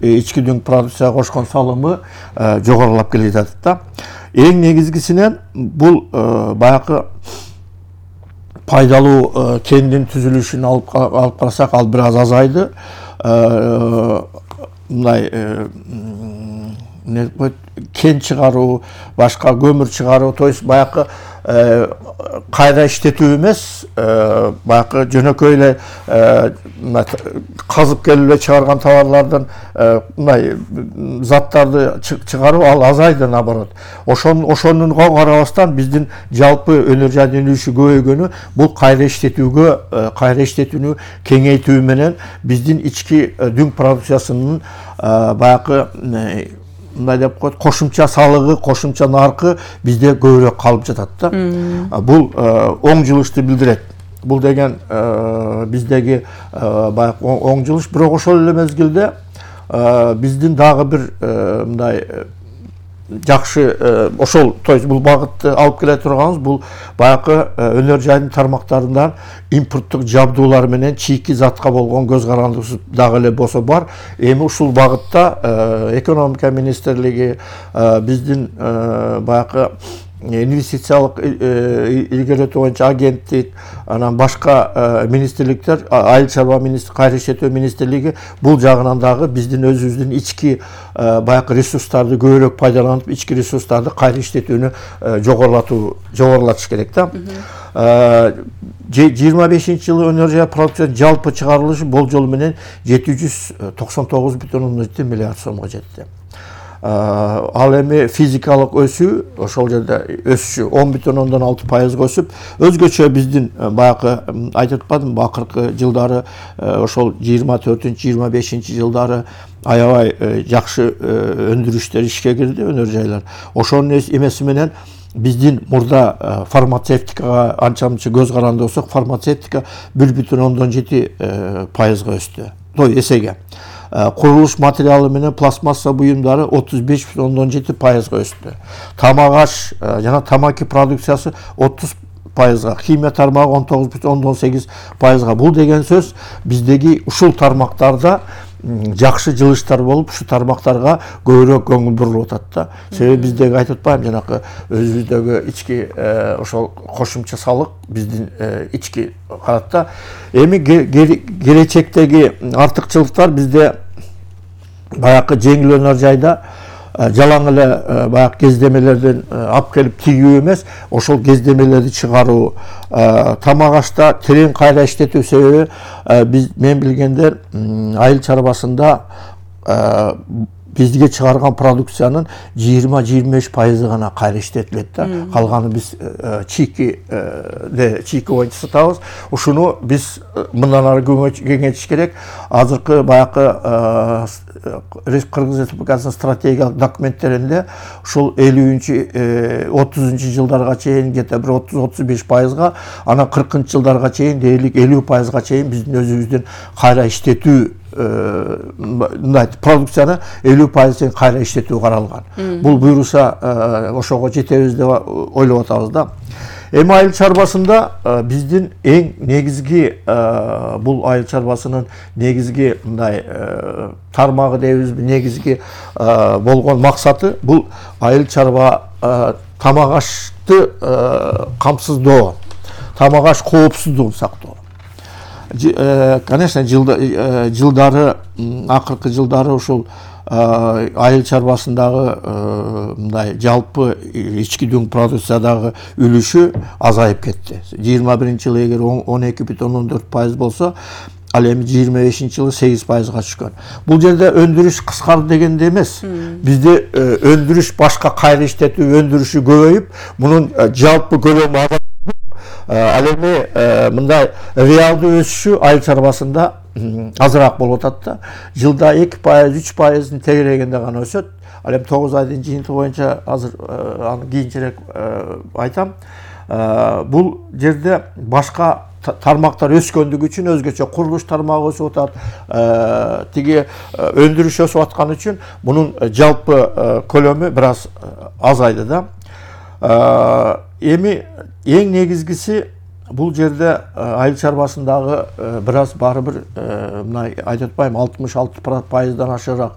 ички дүң продукцияга кошкон салымы жогорулап келе жатат да. Эң негизгисинен бул баягы пайдалуу кендин түзүлүшүн алып карасак, ал бир аз азайды. Мындай кен чыгаруу, башка көмүр чыгаруу, то есть баягы кайра иштетүү эмес, баягы жөнөкөй эле казып келип эле чыгарган товарлардан мындай заттарды чыгаруу ал азайды, наоборот. Ошонуга карабастан биздин жалпы өнөр жайдын үлүшү көбөйгөнү бул кайра иштетүүнү кеңейтүү менен биздин ички дүң продукциясынын баягы мындай деп коет, кошумча салыгы, кошумча наркы бизде көбүрөөк калып жатат да. Бул оң жылышты билдирет. Бул деген биздеги баягы оң жылыш, бирок ошол эле мезгилде биздин дагы бир мындай жакшы ошол, то есть бул багытты алып келе турганыбыз бул баягы өнөр жайдын тармактарынан импорттук жабдуулар менен чийки затка болгон көз карандысыз дагы эле болсо бар. Эми ушул багытта экономика министрлиги, биздин баягы инвестициялык илгерилетүү боюнча агенттик, анан башка министрликтер, айыл чарба министрлиги, кайра иштетүү министрлиги бул жагынан дагы биздин өзүбүздүн ички баягы ресурстарды көбүрөөк пайдаланып, ички ресурстарды кайра иштетүүнү жогорулатыш керек да. 25-жылы өнөр жай продукциясынын жалпы чыгарылышы болжол менен 799,7 миллиард сомго жетти. Ал эми физикалык өсүү ошол жерде өсүшү 10,6% өсүп, өзгөчө биздин баягы айтып атпадымбы, акыркы жылдары ошол 24-25 жылдары аябай жакшы өндүрүштөр ишке кирди, өнөр жайлар. Ошонун эмеси менен биздин мурда фармацевтикага анча-мынча көз каранды болсок, фармацевтика 1,7% өстү, той эсеге. Курулуш материалы менен пластмасса буюмдары 35,7% өстү. Тамак аш жана тамаки продукциясы 30%, химия тармагы 19,8%. Бул деген сөз биздеги ушул тармактарда жакшы жылыштар болуп, ушу тармактарга көбүрөөк көңүл бурулуп атат да. Себеби биздеги айтып атпайм, жанакы өзүбүздөгү ички ошол кошумча салык биздин ички карат да. Эми келечектеги артыкчылыктар бизде баягы жеңил өнөр жайда жалаң эле баягы кездемелерден алып келип тигүү эмес, ошол кездемелерди чыгаруу, тамак ашта терең кайра иштетүү. Себеби мен билгендер айыл чарбасында бизге чыгарган продукциянын 20-25% гана кайра иштетилет да. Калганы биз чийки боюнча сатабыз. Ушуну биз мындан ары кеңейтиш керек. Азыркы баягы Кыргыз Республикасынын стратегиялык документтеринде ушул 50-30 жылдарга чейин где-то бир 30-35%, анан 40 жылдарга чейин дээрлик 50%га чейин биздин өзүбүздүн кайра иштетүү продукцияны 50% кайра иштетүү каралган. Бул буюрса ошого жетебиз деп ойлоп атабыз да. Эми айыл чарбасында биздин эң негизги бул айыл чарбасынын негизги мындай тармагы дейбизби, негизги болгон максаты бул айыл чарба тамак ашты камсыздоо, тамак аш коопсуздугун сактоо. Конечно, жылдары акыркы жылдары ушул айыл чарбасындагы мындай жалпы ички дүң продукциядагы үлүшү азайып кетти. 21-жылы эгер 12,4% болсо, ал эми 25-жылы 8%га түшкөн. Бул жерде өндүрүш кыскарды дегенде эмес. Бизде өндүрүш башка кайра иштетүү өндүрүшү көбөйүп, мунун жалпы көлөмү азайып, ал эми мындай реалдуу өсүшү айыл чарбасында азыраак болуп атат да. Жылда 2-3%-ын тегерегинде гана өсөт. Ал эми 9 айдын жыйынтыгы боюнча азыр аны кийинчерээк айтам. Бул жерде башка тармактар өскөндүгү үчүн өзгөчө курулуш тармагы өсүп атат, тиги өндүрүш өсүп аткан үчүн мунун жалпы көлөмү бир аз азайды да. Эми эң негизгиси бул жерде айыл чарбасындагы бир аз баары бир мындай айтып атпайм, 66%дан ашыраак